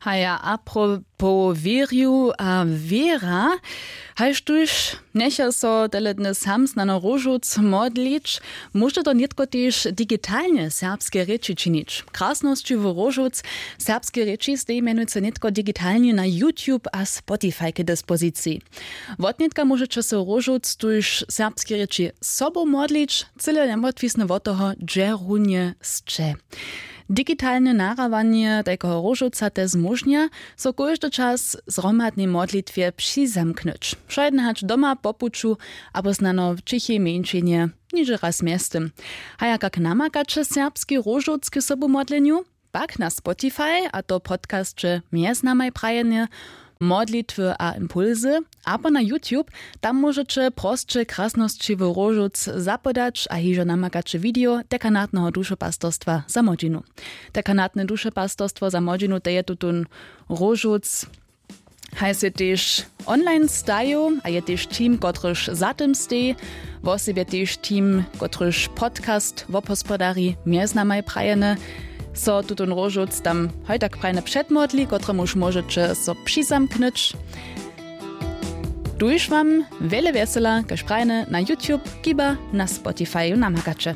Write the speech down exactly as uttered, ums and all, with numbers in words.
Haja, apropo wěrju a wěra, haž tuž njecha so tele dny sam snano róžowc modlić, móže to nětko tež digitalnje w serbskej rěči činić. Krasnosći w róžowc serbskej rěči steji mjenujcy nětko digitalnje na YouTube a Spotify k dispoziciji. Wotnětka móžeće so róžowc tuž w serbskej rěči sobu modlić, cyle njemotwisny wot toho, hdźe runje sće. Digitalne nahrabanje tajkeho róžowca te zmóžnja, so kóždy čas zhromadnej modlitwje přizamknyć, wšojedne hač doma, po puću abo snano w ćichej mjeńšinje, nižo raz mjeztym. Haja, kak namakaće serbski róžowc k sobumodlenju? Pak na Spotify, a to podcasće mjez namaj prajenje, modlitwy a impulsy, abo na YouTube. Tam móžeće prosće krasnosći w róžowc zapodać a hižo namakaće video dekanatneho dušepastorstwa za młodźinu. Dekanatne dušepastorstwo za młodźinu, to je tutón róžowc, haj sej tež online stajił a je tež team, kotryž za tym steji, wosebje tež team, kotryž podcast wobhospodari mjez namaj prajene. So tutón róžowc tam hoj tak prajne předmodli, kotremuž móžeće so přizamknyć. Tuž wam wjele wjesela, kaž prajene, na YouTube kiba na Spotifyu namakaće.